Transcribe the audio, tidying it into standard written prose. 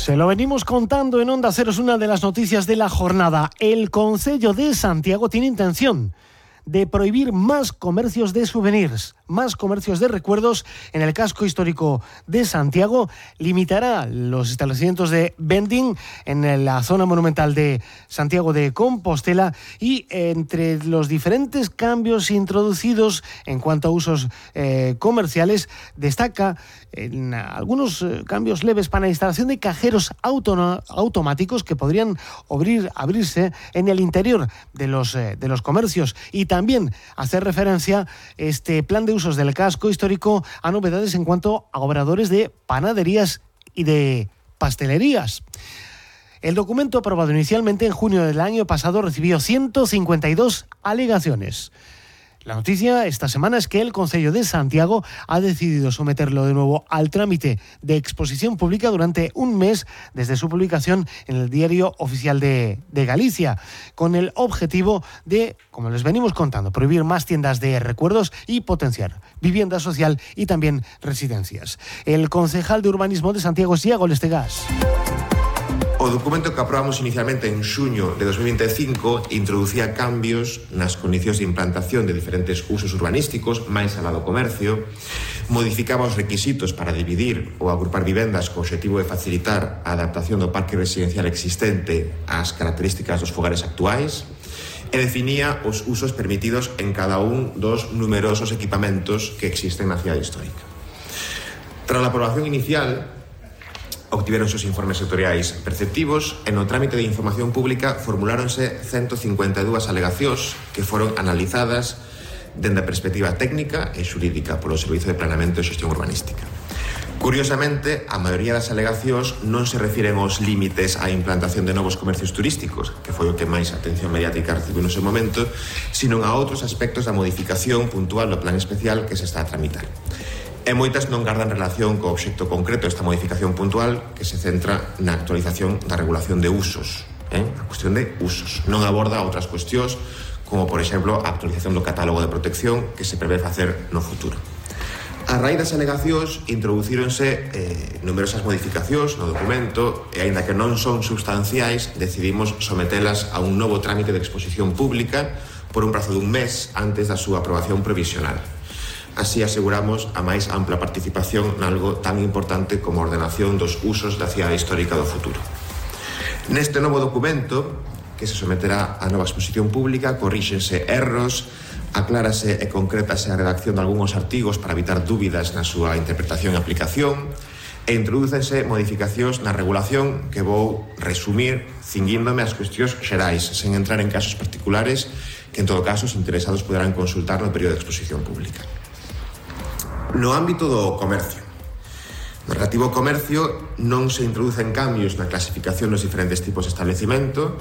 Se lo venimos contando en Onda Cero, es una de las noticias de la jornada. El Concello de Santiago tiene intención de prohibir más comercios de souvenirs, más comercios de recuerdos en el casco histórico de Santiago. Limitará los establecimientos de vending en la zona monumental de Santiago de Compostela, y entre los diferentes cambios introducidos en cuanto a usos comerciales, destaca en algunos cambios leves para la instalación de cajeros automáticos que podrían abrirse en el interior de los comercios, y también hacer referencia este plan de usos del casco histórico a novedades en cuanto a obradores de panaderías y de pastelerías. El documento, aprobado inicialmente en junio del año pasado, recibió 152 alegaciones. La noticia esta semana es que el Concello de Santiago ha decidido someterlo de nuevo al trámite de exposición pública durante un mes desde su publicación en el Diario Oficial de Galicia, con el objetivo de, como les venimos contando, prohibir más tiendas de recuerdos y potenciar vivienda social y también residencias. El concejal de Urbanismo de Santiago es Iago Lestegas. O documento que aprobamos inicialmente en xuño de 2025 introducía cambios nas condicións de implantación de diferentes usos urbanísticos, máis alá do comercio, modificaba os requisitos para dividir ou agrupar vivendas co obxectivo de facilitar a adaptación do parque residencial existente ás características dos fogares actuais, e definía os usos permitidos en cada un dos numerosos equipamentos que existen na cidade histórica. Tras a aprobación inicial, obtiveronse os informes sectoriais perceptivos e no trámite de información pública formuláronse 152 alegacións que foron analizadas dende a perspectiva técnica e xurídica polo Servizo de Planeamento e Xestión Urbanística. Curiosamente, a maioría das alegacións non se refiren aos límites á implantación de novos comercios turísticos, que foi o que máis atención mediática recibiu no seu momento, sino a outros aspectos da modificación puntual do plan especial que se está a tramitar. E moitas non gardan relación co obxecto concreto desta modificación puntual, que se centra na actualización da regulación de usos, a cuestión de usos. Non aborda outras cuestións, como, por exemplo, a actualización do catálogo de protección que se prevé facer no futuro. A raíz das alegacións introducíronse numerosas modificacións no documento e, aínda que non son substanciais, decidimos sometelas a un novo trámite de exposición pública por un prazo dun mes antes da súa aprobación provisional. Así aseguramos a máis ampla participación nalgo tan importante como a ordenación dos usos da cidade histórica do futuro. Neste novo documento, que se someterá a nova exposición pública, corríxense erros, aclárase e concrétase a redacción de algúns artigos para evitar dúbidas na súa interpretación e aplicación, e introdúcense modificacións na regulación que vou resumir cinguíndome as cuestións xerais, sen entrar en casos particulares que, en todo caso, os interesados poderán consultar no período de exposición pública. No ámbito do comercio, no relativo ao comercio non se introducen cambios na clasificación dos diferentes tipos de establecimento